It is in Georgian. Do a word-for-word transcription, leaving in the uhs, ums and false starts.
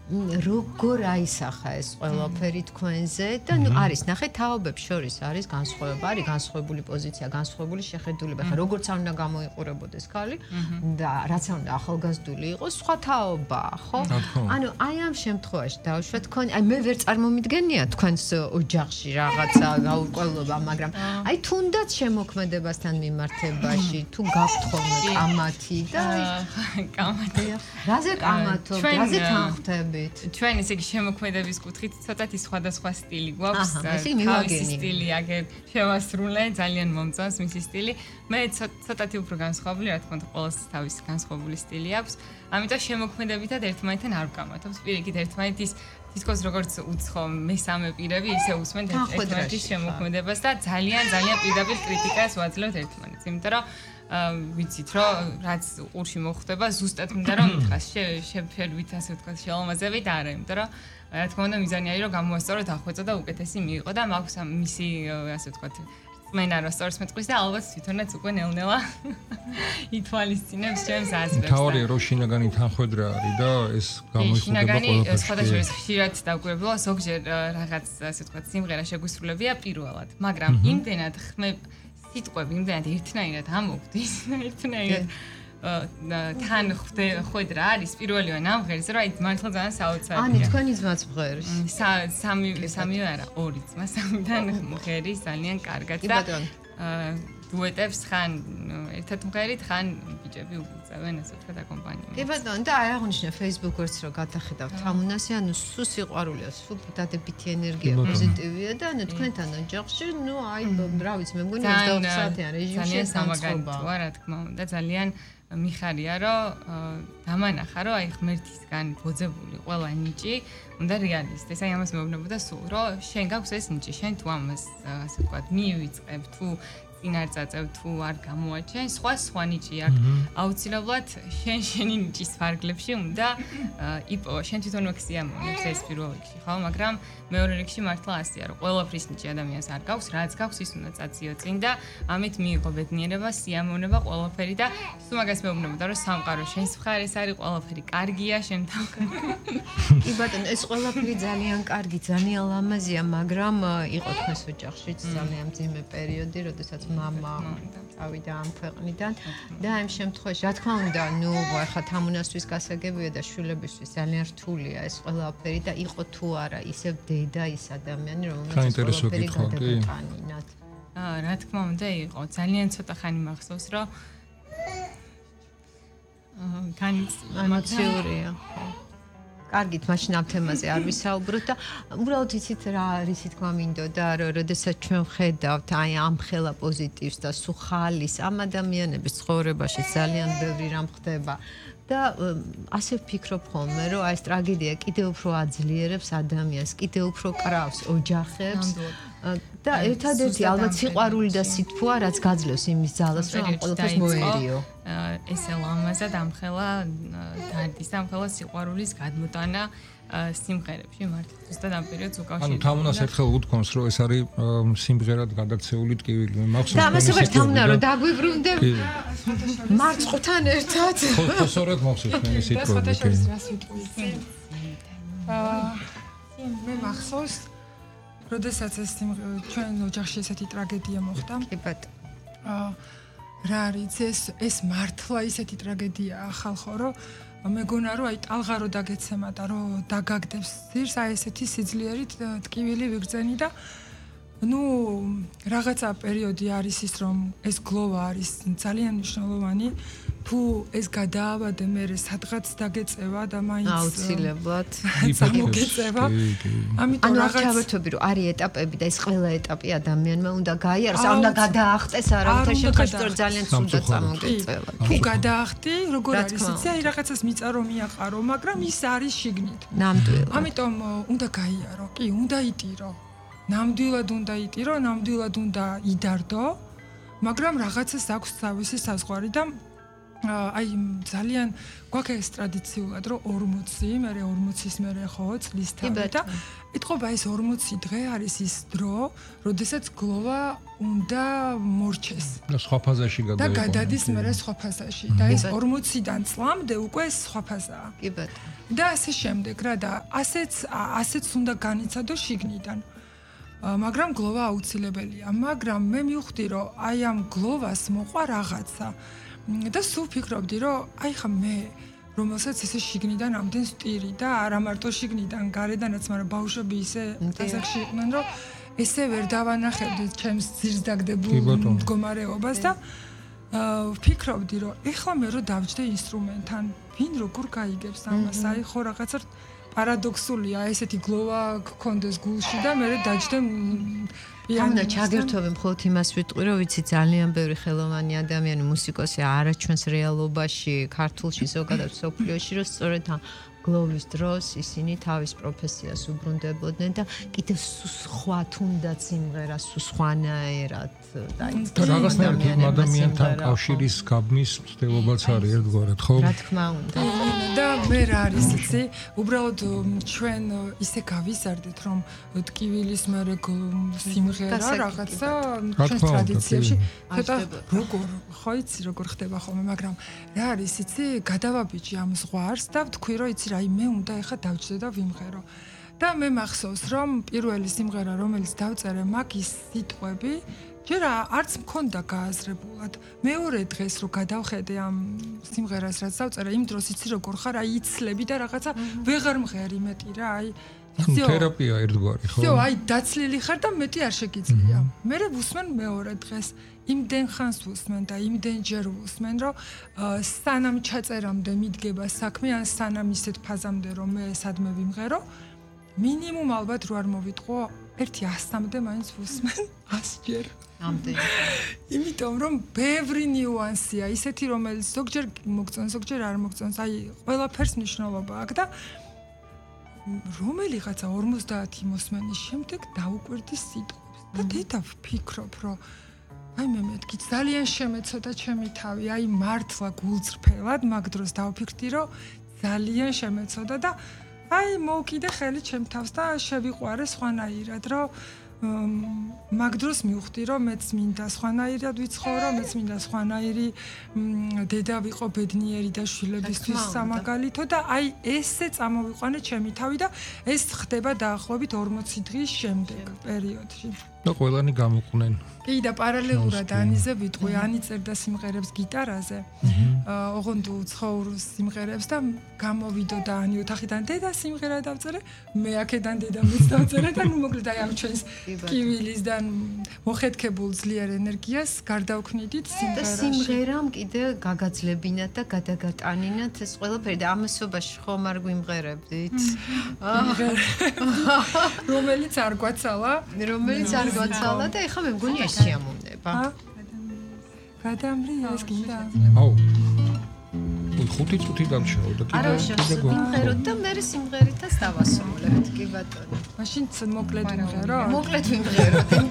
როგორ აისახა ეს ყველაფერი თქვენზე და ნუ არის ნახე თაობებს შორის არის განსხვავება, არის განსხვავებული პოზიცია, განსხვავებული შეხედულება. ხა როგორც არ უნდა გამოიყურებოდეს ქალი და რაც არ უნდა ახალგაზრდული იყოს, სხვა თაობაა, ხო? ანუ აი ამ შემთხვევაში დავუშვათ თქვენ, აი მე ვერ წარმომიდგენია თქვენს ოჯახში რაღაცა გაურკვევლობა, მაგრამ აი თუნდაც შემოქმედებასთან მიმართებაში თუ გაქვთ ხოლმე კამათი და კამათი. რაზე კამათობთ, რაზე თანხმდებით? ჩვენ ესე იგი შემოქმედების კუთხით ცოტათი სხვადასხვა სტილი გვაქვს. თავისი სტილი აგერ შევასრულე, ძალიან მომწონს მისი სტილი. მე ცოტათი უფრო განსხვავებული, რა თქმა უნდა, ყოველს თავისი განსხვავებული სტილი აქვს. ამიტომ შემოქმედებითად ერთმანეთთან არ ვკამათობთ. პირიქით ერთმანეთის თითქოს როგორც უცხო მესამე პირები ისე უსმენთ ერთმანეთის შემოქმედებას და ძალიან ძალიან პირდაპირ კრიტიკას ვაძლევთ ერთმანეთს. იმიტომ რომ ვიცით რომ რაც ყურში მოხდება ზუსტად უნდა რომ ითხრას შეფერვით ასე ვთქვათ შეალმაზებით არა იმიტომ რომ რა თქმა უნდა მიზანი არის რომ გამოასწოროთ დახვეწა და უკეთესი მიიღო და მაქვს მისი ასე ვთქვათ წმენა რომ სწორს მეტყვის და ალბათ თვითონაც უკვე ნელ-ნელა ითვალისწინებს ჩემს აზრებს. თავი რო შინაგანი თანხwebdriver არის და ეს გამოიხატება ყველაფერში. სხვადასხვა ხშირად დავკვირვებულა ზოგჯერ რაღაც ასე ვთქვათ სიმღერა შეგვისრულებია პირველად, მაგრამ იმდენად ხმებ სიტყვები იმდენად ერთნაირად ამოვგდის, ერთნაირად თან ხვედრა არის პირველივე ნამღერის, რომ აი მართლა ძალიან საოცარია.ანი თქვენი ძმაც მღერის. სამი სამივე არა, ორი ძმა, სამიდან მღერის ძალიან კარგად და დუეტებს ხან ერთად მღერით, ხან ბიჭები უწევენ ასე ვთქვათ აკომპანიუმენტს. კი ბატონო, და აი აღნიშნე Facebook-ს რო გადახედავთ თამუნასი, ანუ სულ სიყვარულია, სულ დადებითი ენერგია, პოზიტივია და ანუ თქვენთან ოჯახში, ნუ აი რა ვიცი, მე მგონი ოცდაოთხ საათიან რეჟიმში სამაგალითოა, რა თქმა უნდა, ძალიან მიხარია, რომ დამანახა, რომ აი ღმერთისგან ბოძებული ყველა ნიჭი უნდა რეალისტეს. აი ამას მეუბნებოდა სულ, რომ შენ გაქვს ეს ნიჭი, შენ თუ ამას ასე ვთქვათ, მიივიწყებ, თუ წინ არ წაწევ თუ არ გამოაჩენ, სხვა სხვა ნიჭი აქვს. აუცილებლად შენ შენი ნიჭის ფარგლებში უნდა იპოვა. შენ თვითონ ექსიამონებს ეს პირველ რიგში, ხო? მაგრამ მეორე რიგში მართლა ასეა, რომ ყველაფრის ნიჭი ადამიანს არ გაქვს, რაც გაქვს ის უნდა წაციო წინ და ამით მიიღო ბედნიერება, სიამოვნება, ყველაფერი და სულ მაგას მეუბნებოდა, რომ სამყარო შენს მხარეს არის, ყველაფერი კარგია, შენ თავი. კი ბატონო, ეს ყველაფერი ძალიან კარგი, ძალიან ლამაზია, მაგრამ იყო თქვენს ოჯახში ძალიან მძიმე პერიოდი, როდესაც мама წავიდა ამ ქვეყნიდან და ამ შემთხვევაში რა თქმა უნდა ნუ ახლა თამუნასთვის გასაგებია და შვილებისთვის ძალიან რთულია ეს ყველაფერი და იყო თუ არა ისევ დედა ის ადამიანი რომელსაც ყველაფერი გადაგეტანინათ. აა რა თქმა უნდა იყო ძალიან ცოტა ხანი მახსოვს რომ აა განიც ემოციურია. კარგით, მაშინ ამ თემაზე არ ვისაუბროთ და უბრალოდ იცით რა არის თქმა მინდოდა, რომ როდესაც ჩვენ ვხედავთ აი ამ ხელა პოზიტივს და სუხალის ამ ადამიანების ცხოვრებაში ძალიან ბევრი რამ ხდება და ასე ვფიქრობ ხოლმე, რომ აი ეს ტრაგედია კიდევ უფრო აძლიერებს ადამიანს, კიდევ უფრო კრავს ოჯახებს და ერთადერთი ალბათ სიყვარული და სითბოა, რაც გაძლევს იმის ძალას, რომ ამ ყველაფერს მოერიო. ესე ლამაზად ამხელა დარდის ამხელა სიყვარულის გადმოტანა სიმღერებში მართლა ზუსტად ამ პერიოდს უკავშირდება. ანუ თამუნას ერთხელ უთქვამს, რომ ეს არის სიმღერად გადაქცეული ტკივილი. მე მახსოვს და ამას ვერ თამუნა რომ დაგვიბრუნდე მარწყთან ერთად. ხო, სწორედ მახსოვს მე სიტყვები. აა მე მახსოვს როდესაც ეს ჩვენ ოჯახში ესეთი ტრაგედია მოხდა. კი ბატონო. აა რა არის ეს ეს მართლა ისეთი ტრაგედიაა ხალხო რომ მეგონა რომ აი ტალღა რო დაგეცემა და რო დაგაგდებს ძირს აი ესეთი სიძლიერით ტკივილი ვიგრძენი და ნუ რაღაცა პერიოდი არის ის რომ ეს გლოვა არის ძალიან მნიშვნელოვანი თუ ეს გადაავადე მე სადღაც დაგეწევა და მაინც აუცილებლად სამოგეწევა ამიტომ რაღაც ჩავერთვები რომ არის ეტაპები და ეს ყველა ეტაპი ადამიანმა უნდა გაიაროს არ უნდა გადაახტეს არავითარ შემთხვევაში ძალიან ცუდად წამოგეწევა თუ გადაახტი როგორ არის იცი აი რაღაცას მიწა რომ მიაყარო მაგრამ ის არის შიგნით ნამდვილად ამიტომ უნდა გაიარო კი უნდა იტირო ნამდვილად უნდა იტირო ნამდვილად უნდა იდარდო მაგრამ რაღაცას აქვს თავისი საზღვარი და აი ძალიან გვაქვს ეს ტრადიციულად რომ ორმოცი, მე ორმოცის მერე ხო წლის თავი და ეთყობა ეს ორმოცი დღე არის ის დრო, როდესაც გლოვა უნდა მორჩეს. და სხვა ფაზაში გადაიყვანოს. და გადადის მერე სხვა ფაზაში და ეს ორმოციდან წლამდე უკვე სხვა ფაზაა. კი ბატონო. და ასე შემდეგ რა და ასეც ასეც უნდა განიცადო შიგნიდან. მაგრამ გლოვა აუცილებელია, მაგრამ მე მივხვდი რომ აი ამ გლოვას მოყვა რაღაცა. და სულ ფიქრობდი რომ აი ხა მე რომელსაც ესე შიგნიდან ამდენ სტირი და არა მარტო შიგნიდან გარედანაც, მაგრამ ბავშვები ისე ასაკში იყვნენ რომ ესე ვერ დავანახებდი ჩემს ძირს დაგდებულ მდგომარეობას და ვფიქრობდი რომ ეხლა მე რო დავჯდე ინსტრუმენტთან, ვინ როგორ გაიგებს ამას? აი ხო რაღაცა პარადოქსულია, ესეთი გლოვა გქონდეს გულში და მე დაჯდე ამნა ჩაგერთოვე მხოლოდ იმას ვიტყვი, რომ ვიცი ძალიან ბევრი ხელოვანი ადამიანი, მუსიკოსი არა ჩვენს რეალობაში, ქართულში ზოგადად სოფლიოში, რომ სწორედ ამ გლოვის დროს ისინი თავის პროფესიას უბრუნდებოდნენ და კიდევ სხვა თუნდაც სიმღერას სხვანაირად დაიწყეს. და რაღაცნაირად იმ ადამიანთან კავშირის გაბმის ცდილობაც არის ერთგვარად, ხო? რა თქმა უნდა. და მე რა არის იცი? უბრალოდ ჩვენ ისე გავიზარდეთ, რომ ტკივილის მერე სიმღერა რაღაცა ჩვენს ტრადიციებში ცოტა როგორ ხო იცი როგორ ხდება ხოლმე, მაგრამ რა არის იცი? გადავაბიჯი ამ ზღვარს და ვთქვი რომ იცი აი მე უნდა ეხა დავჯდე და ვიმღერო. და მე მახსოვს რომ პირველი სიმღერა რომელიც დავწერე მაგის სიტყვები ჯერ არც მქონდა გააზრებულად. მეორე დღეს რო გადავხედე ამ სიმღერას რაც დავწერე, იმ დროს იცი როგორ ხარ, აი იცლები და რაღაცა ვეღარ მღერი მეტი რა, აი თერაპია ერთგვარი, ხო? всё, აი დაცლილი ხარ და მეტი არ შეგიძლია. მე ვუსმენ მეორე დღეს. იმდენ ხანს ვუსმენ და იმდენ ჯერ ვუსმენ, რომ სანამ ჩაწერამდე მიდგება საქმე, ან სანამ ისეთ ფაზამდე რომ მე სადმე ვიმღერო, მინიმუმ ალბათ რო არ მოვიტყო, ერთი ასამდე მაინც ვუსმენ, ას ჯერ. ამდენი. იმიტომ რომ ბევრი ნიუანსია, ისეთი რომელიც ზოგჯერ მოგწონს, ზოგჯერ არ მოგწონს, აი ყველაფერს მნიშვნელობა აქვს და რომელიღაცა ორმოცდაათი მოსმენის შემდეგ დაუკვირდი სიტყვებს და დედა ვფიქრობ, რომ აი მე მეთქი ძალიან შემეცოდა ჩემი თავი, აი მართლა გულწრფელად მაგ დროს დავფიქრდი, რომ ძალიან შემეცოდა და აი მოვკიდე ხელი ჩემ თავს და შევიყვარე სხვანაირად, რომ მაგ დროს მივხვდი, რომ მეც მინდა სხვანაირად ვიცხოვრო, მეც მინდა სხვანაირი დედა ვიყო ბედნიერი და შვილებისთვის სამაგალითო და აი ესე წამოვიყვანე ჩემი თავი და ეს ხდება დაახლოებით ორმოცი დღის შემდეგ პერიოდში. და ყველანი გამოყვნენ. კი და პარალელურად ანიზე ვიტყვი, ანი წერდა სიმღერებს გიტარაზე. ოღონდ უცხოურ სიმღერებს და გამოვიდო და ანი ოთახიდან დედა სიმღერა დავწერე, მე აქედან დედა მეც დავწერე და ნუ მოკლედ აი ამ ჩვენს კივილის და მოხეთქებულ ძლიერ ენერგიას გარდავქმნიდით სიმღერაში. და სიმღერამ კიდე გაგაძლებინათ და გადაგატანინათ ეს ყველაფერი და ამასობაში ხომ არ გვიმღერებდით? რომელიც არ გვაცალა, რომელიც არ გვაცალა და ეხლა მე მგონი ეს შეამოვნდება. გადამრიეს გინდა. აუ. ой, ხუთი წუთი დამჩაო და კიდე კიდე გვიმღეროთ და მე სიმღერითაც დავასრულებთ, კი ბატონო. მაშინ მოკლედ ვიმღერო? მოკლედ ვიმღეროთ, იმიტომ